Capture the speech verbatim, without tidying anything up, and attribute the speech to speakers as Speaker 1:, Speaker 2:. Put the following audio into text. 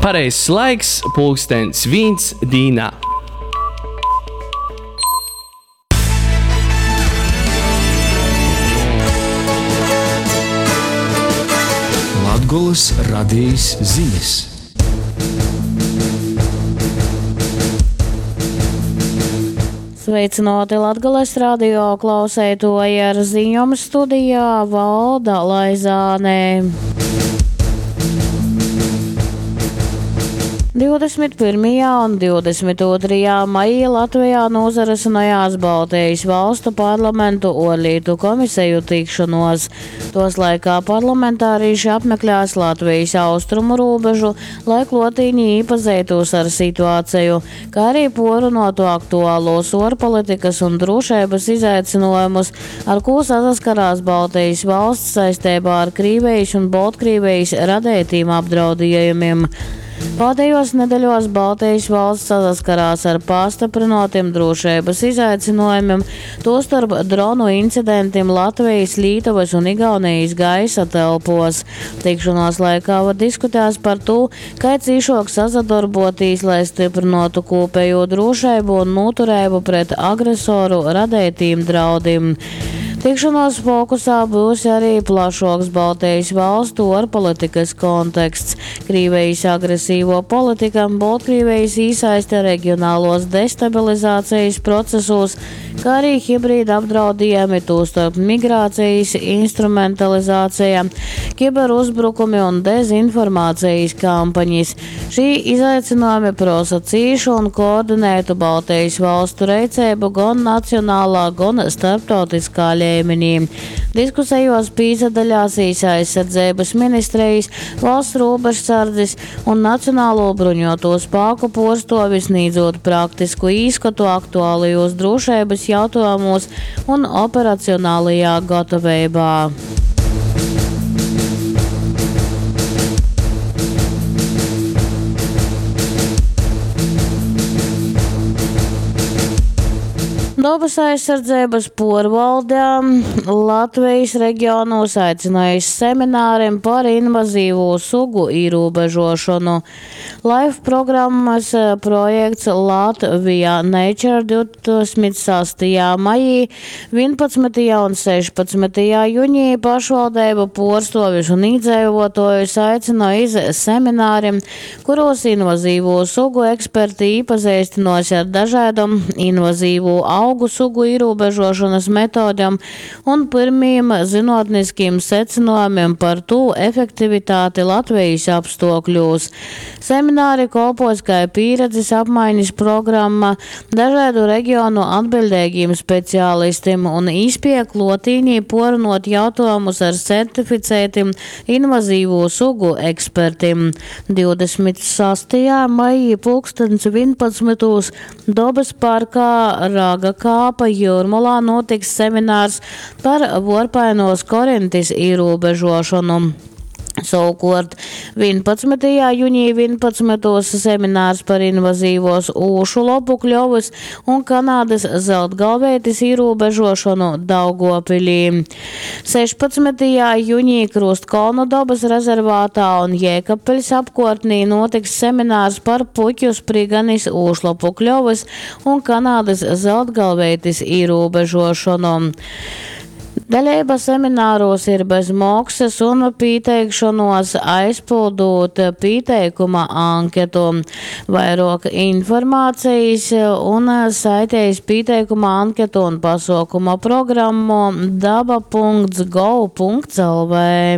Speaker 1: Pareizs laiks pulkstens vīns dīnā.
Speaker 2: Latgolys radejis zinis.
Speaker 3: Sveicināti Latgales radio klauseitoji ar ziņom studijā Valda Laizāne. divdesmit pirmajā un divdesmit otrajā maijā Latvijā nozarisinājās Baltijas valstu parlamentu ārlietu komisiju tikšanos. Tos laikā parlamentārieši apmeklēs Latvijas austrumu robežu, lai klotīņi iepazītos ar situāciju, kā arī porunotu aktuālos ārpolitikas un drošības izaicinājumus, ar ko saskarās Baltijas valsts saistībā ar Krīvijas un Baltkrievijas radētīm apdraudējumiem. Pēdējos nedēļos Baltijas valsts saskarās ar pastiprinātiem drošības izaicinājumiem, tostarp dronu incidentiem Latvijas, Lietuvas un Igaunijas gaisa telpos. Tikšanās laikā var diskutēs par to, kā cīšok sasadarbotīs, lai stiprinātu kopējo drošību un noturību pret agresoru radētīm draudiem. Tikšanās fokusā būs arī plašāks Baltijas valstu ārpolitikas konteksts, Krievijas agresīvo politika, Baltkrievijas īsaiste reģionālos destabilizācijas procesos, kā arī hibrīda apdraudījumi, tostarp migrācijas instrumentalizācija, kiberuzbrukumi un dezinformācijas kampaņas. Šī izaicinājumi prosa cīšu un koordinētu Baltijas valstu reicību gan nacionālā, gan starptautiskā līmenī. Diskusijos pīzadaļās aizsardzības ministrijas, valsts robežsardzes un Nacionālo bruņoto spēku porstovis sniedzot praktisku īskatu aktuālajos drošības jautājumos un operacionālajā gatavībā. Dabas aizsardzības porvaldē Latvijas reģionos aicinājis seminārim par invazīvo sugu ierobežošanu. Life programmas projekts Latvija Nature divdesmit sastajā maijā, vienpadsmitajā un sešpadsmitajā jūnijā pašvaldību porstovis un iedzīvotājus aicināja iz seminārim, kuros invazīvo sugu eksperti iepazīstinos ar dažādam invazīvo augu sugu ierobežošanas metodēm un pirmiem zinātniskiem secinājumiem par to efektivitāti Latvijas apstākļos. Semināri kalpos kā pieredzes apmaiņas programma dažādu reģionu atbildīgiem speciālistiem un īspēja klotīnī porunot jautājumus ar certificētiem invazīvo sugu ekspertiem. divdesmit sastajā maijā pulkstens vienpadsmitos Dabas parkā Raga Kāpa Jūrmalā notiks seminārs par vorpainos korintis ierobežošanu. Savukārt vienpadsmitajā jūnijā vienpadsmitos seminārs par invazīvos ūšu lopu kļovas un Kanādas zeltgalvētis ierobežošanu Daugopilī. sešpadsmitajā jūnijā Krustkalnu dabas rezervātā un Jēkabpils apkārtnī notiks seminārs par puķu spriganis ūšlapu kļovas un Kanādas zeltgalvētis ierobežošanu. Dalība semināros ir bez maksas un pieteikšanos aizpildot pieteikuma anketu. Vairāk informācijas un saitējas pieteikuma anketu un pasaukuma programmu daba punkts gov punkts lv.